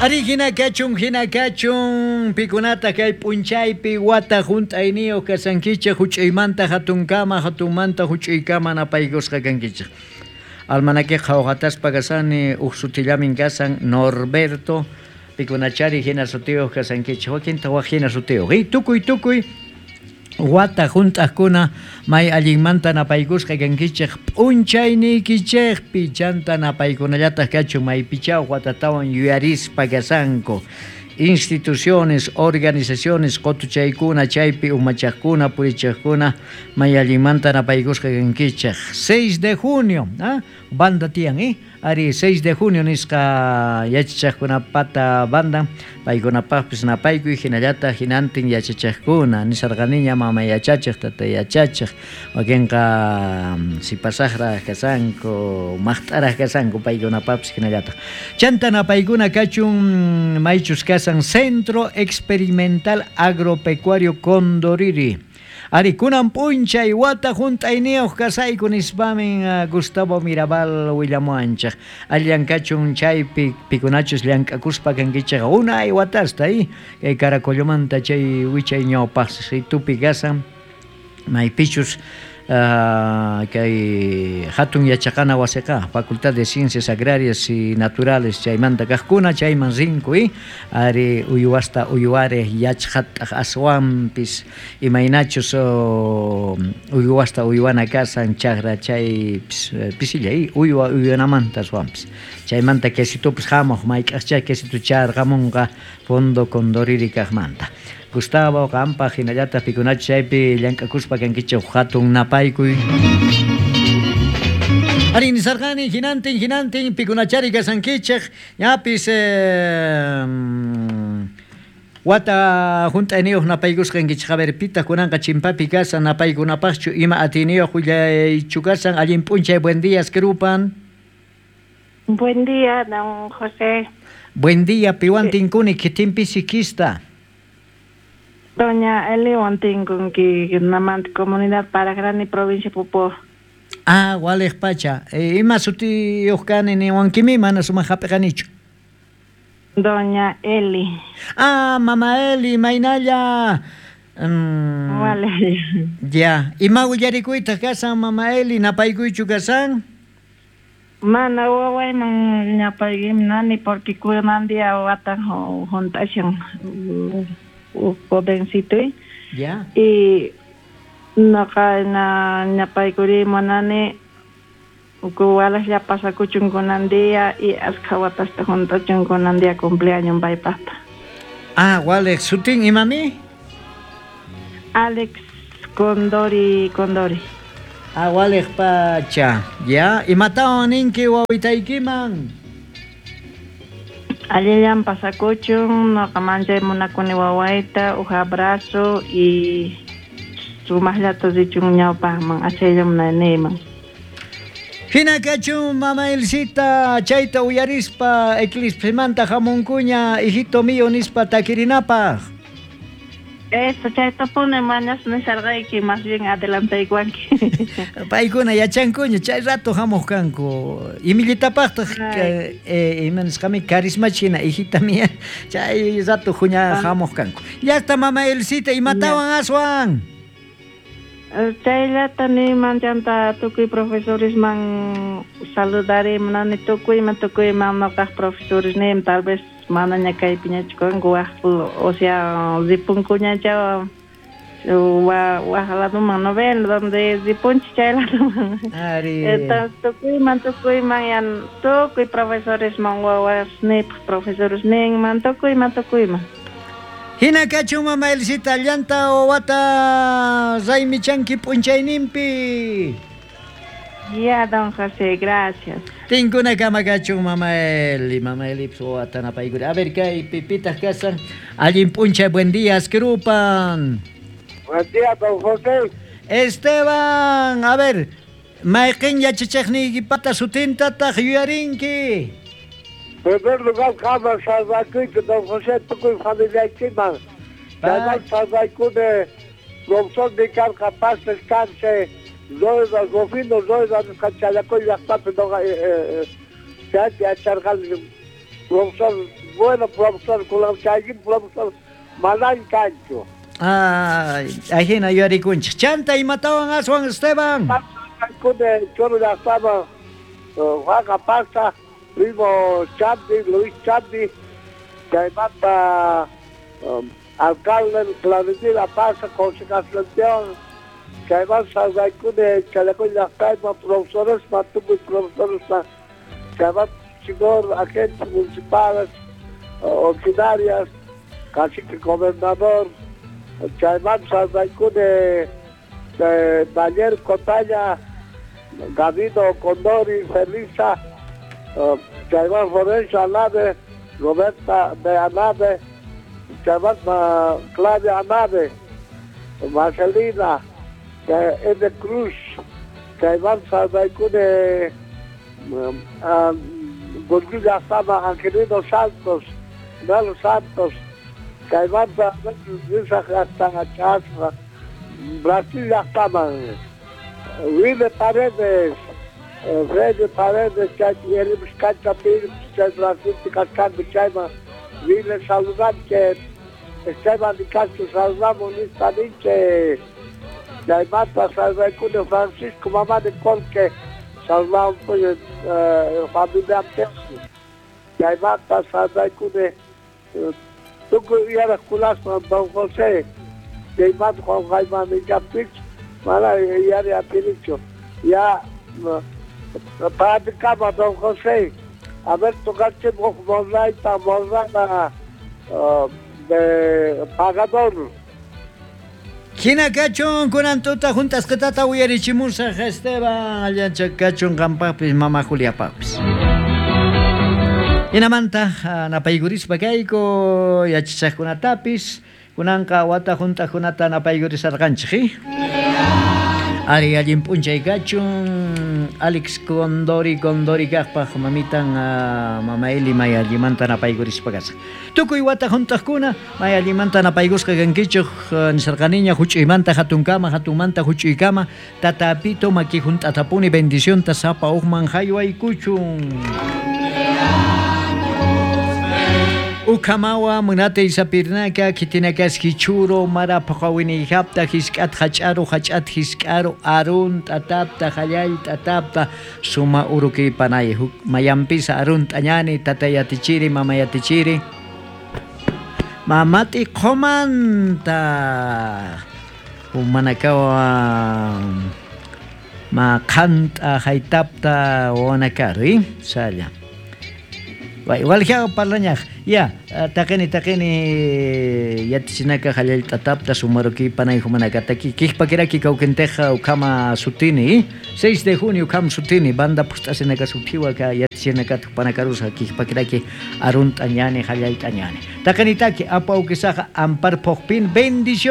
Ari hina kachun, hina kachun, pikunata kay p'unchaypi wata hunt'ayniyuq kasankichik, huch'uymanta hatunkama, hatunmanta huch'uykama napaykusqa kankichik. Almanaque qhawqataspa kasani, uj sutillamin kasan, Norberto, pikunachari hina sutiyuq kasankichik, wakinta waj hina sutiyuq. Y tukuy tukuy wata hunt'aqkuna may allinmanta napaykusqa kankichik p'unchayniykichikpi, chanta napaykunallataq kachun maypichá watatawan yuyarispa kasanku. Instituciones, organizaciones, qotuchaykuna, chaypi umachaqkuna, purichaqkuna, may allinmanta napaykusqa kankichik. 6 de junio, ¿ah? Banda tiyan, ¿eh? Ari 6 de junio nisqa yachachaqkunapata banda, paykunapaqpis napaykuy hinallataq hinantin yachachaqkuna, nisarqaniña mama yachachiq, tata yachachiq, wakinqa sipasaqraq kasanku, maqt'araq kasanku, paykunapaqpis hinallataq. Chanta napaykuna kachun maychus kasan Centro Experimental Agropecuario Condoriri. Ari kunan p'unchay wata hunt'ayniyuq kasayku nispamin Gustavo Mirabal willamuwanchik. Allan kachun chaypi pikunachus llank'akuspa kankichik unay watasta, kay Caracollomanta chay wichay ñawpaqsitupi kasan maypichus kay hatun yachaqana wasiqa, Facultad de Ciencias Agrarias y Naturales chaymanta kaqkuna chayman rinku, ari uywasta uywariq yachqataq aswanpis imaynachus uywasta uywana kasan chaqra chay pisilla, uywa uywanamanta aswanpis chaymanta quesitupis hamuq mayk'aqchá quesitu charqamunqa Fondo Condoriri kaqmanta. Gustavo, qampaq hinallataq pikunachus chaypi llank'akuspa kankichik hatun napaykuy. Ari nisarqani hinantin hinantin pikunachari kasankichik ñapis wata hunt'ayniyuq napaykusqa kankichik. A ver, pitaq kunanqa chimpapi kasan napaykunapaqchu ima atiyniyuq willaychu kasan. Allin p'unchay, buen día, Skrupan. Buen día, don José. Buen día, piwan tinkuni, kitinpi sikista. Doña Eliwan tinkunki, namanta comunidad Paragrani, provincia Pupó. Ah, waliq pacha. Ima sutiyuq kani niwankimi, mana sumaq hap'iqanichu. Doña Eli. Ah, mama Eli, maynalla. Wale. Ya, ima willarikuytaq kasan, mama Eli, napaykuychu kasan? Mana wawayman ñapaykim nani, porque kunan día watan hunt'ashan jovencito. Ya. Y noqa na ñapaykuri munani kuwalaslla pasakuchun kunan día y askha watasta hunt'achun kunan día cumpleaños paypaqta. Ah, waliq sutin imami? Alex Condori Condori. Ah, waliq pacha. Ya, imatawan ninki wawitaykiman? Allillan pasakuchun, noqa manchay munakuni wawayta, uj abrazo y sumaqllata richun ñawpaqman, achayllam niyman. Hina kachun, mama Elcita, chayta uyarispa, eclipsemanta hamunkuña, hijito mío nispa takirinapaq. Eso, chaytapuni mañas nisarqayki, más bien adelantaykuwanki. Paykuna yachankuña, chay rato hamuq kanku. Imillitapaqtaq, ima nisqami, carisma china, hijita mía, chay rato juña hamuq kanku. Llaqta mama Elcita, imatawan aswan? Chayllata niyman, chanta tukuy profesoresman saludare munani, tukuyman, tukuyman noqaq profesores niyman, tal vez manaña kaypiñachu kanku, waj, o sea, ripunkuñacha, waj ladoman, no ven, donde ripunchik chay ladoman. Ari. Entonces, tukuyman, tukuyman, yan, tukuy profesoresman, wawasniypaq profesores ninman, tukuyman, tukuyman. Hina kachun, mama Elcita, llanta wawata raymichanki p'unchayninpi. Ya, don José, gracias. Tinkuna kama kachun, mama Eli, mama Eli, wawata napaykuri. A ver, kay pipitaq kasan. Allin p'unchay, buen día, Skrupan. Buen día, don José. Esteban, a ver, mayqin yachachiqniykipata sutintataq yuyarinki? Primer lugar, kama salvakuyki, don José, tukuy familiaykiman. Chayman salvaykuni, profesor Nikarqa, paz descanse, Zoida, Rufino Zoida, nisqa Chalacoy llaqtapi noqa chaypi yacharqani. Profesor, bueno, profesor, kunan profesor, manan kanchu. Ay, ajina yuyarikunchik. Chanta imatawan aswan Esteban. Kune choro llaqtaman Juan Apaza, primo Chandi, Luis Chandi, chaymanta alcalde Claudinil Apaza, concejal chayman salvaykuni Chalacoy llaqtayman profesores, tukuy profesores, chayman señor agentes municipales, ordinarias, cacique gobernador, chayman salvaykuni Daniel Cotalla, Gabino Condori, Felisa, chayman Florencio Alave, Roberta de Alave, chayman Claudia Alave, Marcelina, Ede Cruz, chayman salvaykuni Gurgul llaqtaman Angelino Santos, Nalo Santos, chaymanta hasta Chasma, Brasil llaqtaman, Wilde Paredes, Freddy Paredes, chay cancha chay Brasil kachkanku chayman, Wilde saludanche, Esteban de Castro saludamos ninche, chaymanta salvaykuni Francisco Mamá de Colque, saludamos pues familia Pesu, chaymanta salvaykuni tukuy yaraqkunasman Don José, chaymanta Juan Jaime Millapich, mana yari atinichu, ya praticaba Don José, a ver tocachimos morraita, morrana de pagador. Hina kachun kunan tuta juntasqatata uyarichimusaq Esteban, allancha kachun qampaqpis mama Juliapaqpis. Hinamanta napaykurispa kayku yachachaqkunatapis kunanqa wata juntaqkunata napaykurisarqanchik. Ari allin p'unchay kachun Alex Condori Condori kaqpaq mamitan mama Eli may allimanta napaykurispa kasaq. Tukuy wata juntaqkuna may allimanta napaykusqa kankichuk nisarqaniña huch'uymanta hatunkama hatunmanta huch'uykama tatapito maki junt'atapuni bendicionta sapa uqman haywaykuchun. Ukamawa munate isapirnaka kitinakas hichuro mara paqawinijapta hisk'at hach'aru hach'at hisk'aru arun tatapta hallay tatapta suma uruki panay mayampisa arun t'añani tatayatichiri mamayatichiri mamati qomanta umanakawa ma qanta haytapta wanakaru salla. Igual que parlañaj ya taqini yatichinaka hallay tatapta sumaruki panay humanakataki kihpakiraki kawkinteja ukama sutini 6 de junio ukam sutini banda pustasinaka sutiwaka yatichinaka panakarusa kihpakiraki arun t'añani hallay t'añani taqini taki apa ukisaja ampar pojpin bendición.